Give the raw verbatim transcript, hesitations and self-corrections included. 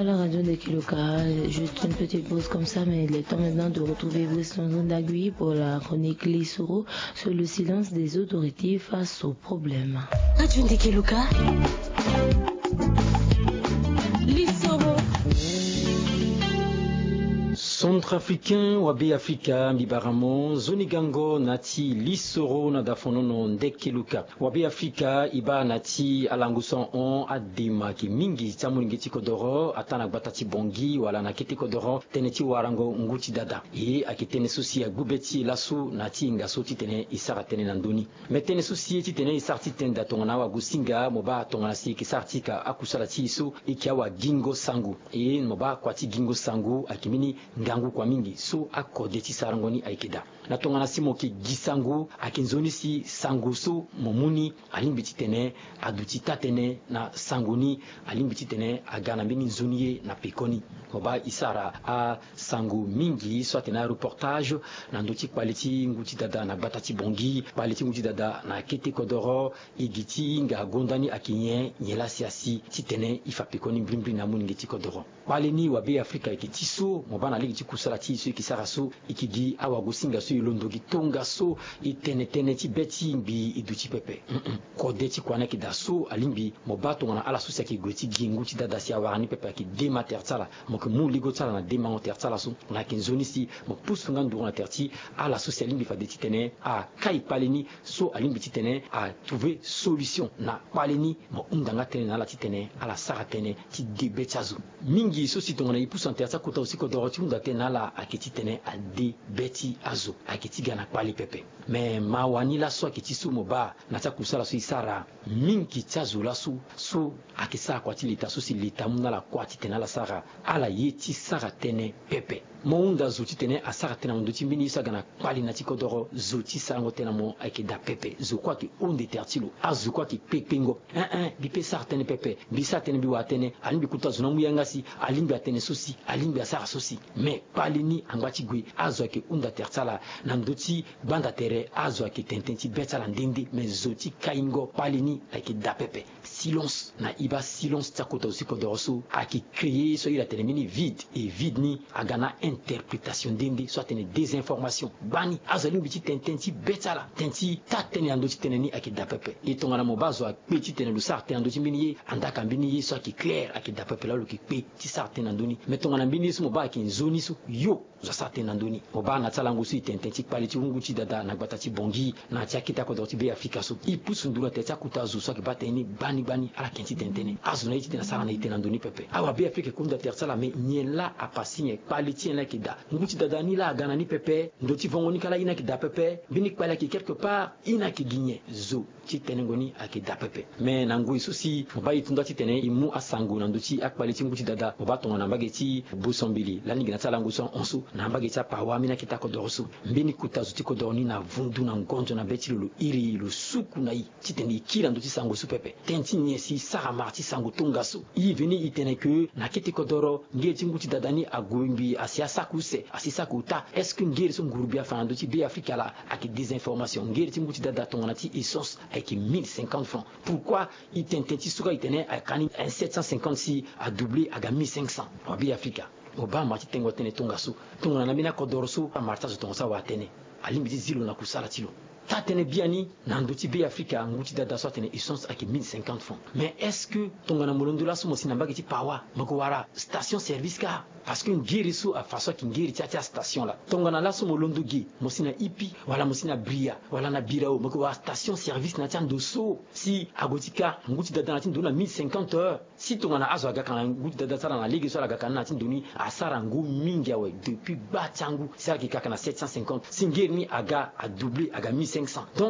À la radio de Kiloka, juste une petite pause comme ça, mais il est temps maintenant de retrouver Brice Lonzon Dagui pour la chronique Lisoro sur le silence des autorités face au problème. Radio de Kiloka. Lisoro. Centrafricain wa Beafrika, mbi bara mo nzoni gango na ti Lisoro na dafonono nde Kiloka. Wa Beafrika, e baa na ti alango so ahon, adema ayeke mingi ti amolenge ti kodoro, ataa na gbata ti Bangui wala na kete kodoro, tënë ti warango ngu ti dada. E ayeke tënë so si agbu be ti e laso na ti hinga so titene e sara tënë na ndö ni. Me tënë so si e titene e sara ti tene daa tongana awagosinga, mo baa tongana si e yeke sara ti ka akusala ti e so, e yeke awagingo sango. E mo baa kua ti gingo sango ayeke mbeni ngangu kua mingi so akode ti sarango ni ayeke daa. Na tongana si mo yeke gi sango, ayeke nzoni si sango so mo mu ni alingbi titene aduti taa-tënë na sango ni, alingbi titene aga na mbeni nzoni ye na pekoni. Mo baa e sara asango mingi so atene areportage na ndö ti kpale ti ngu ti dada na gbata ti Bangui, kpale ti ngu ti dada na kete kodoro. E gi ti hinga gonda ni ayeke nyen? Nyen laa si asi titene e fa pekoni mbrimbri na amolenge ti kodoro? Kpale ni wa Beafrika ayeke ti so mo baa na lege ti kusala ti e so e yeke sara so, e yeke gi awagosinga so e londo gi tongaso, e tene tënë ti be ti ngbii e duti pepe. Mm-mm. Kode ti kua ni ayeke daa so alingbi mo baa tongana ala so si ayeke gue ti gi ngu ti dada si awara ni pepe ayeke dema tere ti ala. Mo yeke mu ligo ti ala na demango tere ti ala so, na ayeke nzoni si mo pusu nga nduru na tere ti ala so si alingbi fade titene akai kpale ni so alingbi titene atrouve solution na kpale ni. Mo hunda nga tënë na ala titene ala sara tënë ti de be ti azo. Mingi so si tongana e pusu na tere ti akota zo ti kodoro ti hunda tënë na ala ayeke titene ade be ti azo, ayeke ti ga na kpale pepe. Me mawa ni laso ayeke ti so mo baa na ti akusala so e sara, mingi ti azo laso so ayeke sara kua ti leta so si leta amu na ala kua titene ala sara, ala ye ti sara tënë pepe. Mo hunda zo titene asara tënë na ndö ti mbeni ye so aga na kpale na ti kodoro, zo ti sarango tënë na mo ayeke daa pepe. Zo kue ayeke hunde tere ti lo. Azo kue ayeke kpe kpengo. Ein ein, mbi pe sara tënë pepe, mbi sara tënë, mbi wara tënë, alingbi kota zo ni amu yanga si, alingbi atene so si, alingbi asara so si. Me kpale ni angba ti gue, azo ayeke hunda tere ti ala. Na ndö ti gbanda tere azo ayeke tene tënë ti be ti ala nde nde, me zo ti kaingo kpale ni ayeke daa pepe. Silence. Na e baa silence ti akota zo ti kodoro so ayeke créer so a iri atene mbeni vide. E vide ni aga na interprétation nde nde so atene désinformation. Gbani azo alingbi ti tene tënë ti be ti ala, tënë ti taa-tënë na ndö ti tënë ni ayeke daa pepe. E tongana mo baa zo akpe titene lo sara tënë na ndö ti mbeni ye, andaa ka mbeni ye so ayeke clair, ayeke daa pepe laa lo yeke kpe ti sara tënë na ndö ni. Me tongana mbeni ye so mo baa ayeke nzoni so, yo zo asara tënë na ndö ni. Mo baa na ti alango so e tene tënë ti kpale ti ngu ti dada na gbata ti Bangui, na ti akete akodoro ti Beafrika so, e pusu nduru na tere ti akota zo so ayeke baa tënë ni gbani gbani, ala ke ti tene tënë. Azo na ye titene asara na e tënë na ndö ni pepe. Awa Beafrika ayeke hunda tere ti ala, me nyen laa apasé nyen? Kpale ti nyen laa ayeke daa? Ngu ti dada ni laa aga na ni pepe? Ndo ti vongo ni kâ laa e ni ayeke daa pepe? Mbeni kpale ayeke quelque part, e ni ayeke gi nyen? Zo ti tenengo ni ayeke daa pepe. Me na ngoi so si mo baa e tu nda titene e mu asango na ndö ti akpale ti ngu ti dada, mo baa tongana mbage ti Bosombili lani gi na ti alango so ahon so, na mbage ti Apawa, ambeni akete akodoro so, mbeni kota zo ti kodoro ni na vundu na ngonzo na be ti lo, lo iri, lo suku na e titene e kiri na ndö ti sango so pepe. Tënë ti nyen si e sara mara ti sango tongaso? E veni e tene ke na kete kodoro ngere ti ngu ti dada ni ague ngbii asi asaku use, asi saku ota. Est-ce que ngere so ngurubi afa na ndö ti Beafrika laa ayeke désinformation? Ngere ti ngu ti dada tongana ti essence ayeke mille cinquante francs. Pourquoi e tene tënë ti so kâ e tene ayeke ni sept cent cinquante si adoublé aga mille cinq cents? Wa Beafrika, mo baa mara ti tengo tënë tongaso. Tongana na mbeni akodoro so amara ti azo tongaso awara tënë, alingbi ti zi lo na kusala ti lo. Taa-tënë biani, na ndö ti Beafrika, ngu ti dada so atene essence ayeke mille cinquante francs. Mais est-ce que tongana mo londo laso mo si na mbage ti Pawa, mo yeke wara station service kâ? Parce que ngere so afa so ayeke ngere ti ya ti astation laa. Tongana laso mo londo ge, mo si na Ipi, wala mo si na Bria, wala na Birao, mo yeke wara station service na ya ti ando so. Si ague ti kâ, ngu ti dada na ti ndo na mille cinquante heures. Si tongana azo aga ka na ngu ti dada ti ala na lege so ala ga ka ni na ti ndo ni, asara ngu mingi awe. Depuis gba ti angu si ala yeke ka ka na sept cent cinquante, si ngere ni aga adoublé aga mille cinq cents. Donc